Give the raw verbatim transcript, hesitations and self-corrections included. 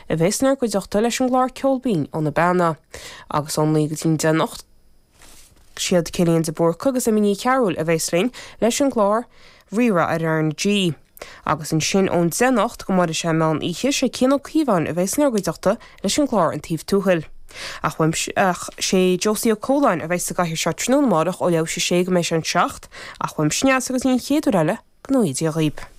a bheas inár gcuideachta leis an gclár Ceol Binn ó na Beanna. Agus ón naoi go dtí an deich anocht, siad Cillian de Búrca agus Amy Ní Chearúil a bheas linn leis an gclár Rí-Rá ar R na G. Agus ansin ón deich anocht go mbeidh sé meán oíche sé Cian Ó Cíobháin a bheas inár gcuideachta leis an gclár An Taobh Tuathail. Ach ach sé Josie Ó Cualáin a bheas sa gcathaoir seo tráthnóna amárach ó leathuair théis a sé go mbeidh sé an seacht, ach uaimse Neasa go dtí an chéad uair eile go ngnóthaí Dia dhaoibh.